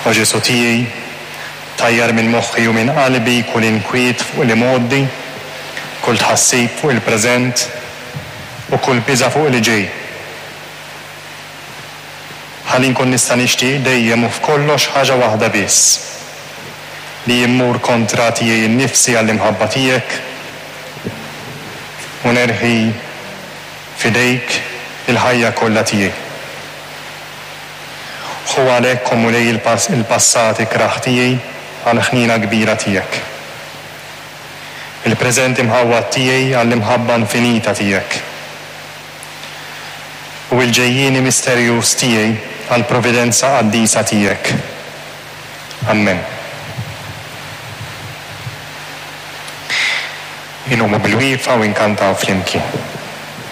O Ġesù tiegħi, tajjar minn moħħi u minn qalbi kull inkwiet fuq l-imgħoddi, kull tħassib fuq il-preżent, u kull biża' fuq li ġej. Ħalli nkun nista' nixtieq dejjem u f'kollox ħaġa waħda biss, li immur kontra tiegħi nnifsi għall-imħabba tiegħek u nerħi f'idejk il-ħajja kollha tiegħi. Ħu għalhekk, o Mulej, il-passat ikrah tiegħi għall-ħniena kbira tiegħek. Il-preżent imħawwad tiegħi għall-imħabba infinita tiegħek. U il-ġejjieni misterjuż tiegħi għall-providenza qaddisa tiegħek. Ammen. Inqumu bil-wieqfa u inkantaw flimkien.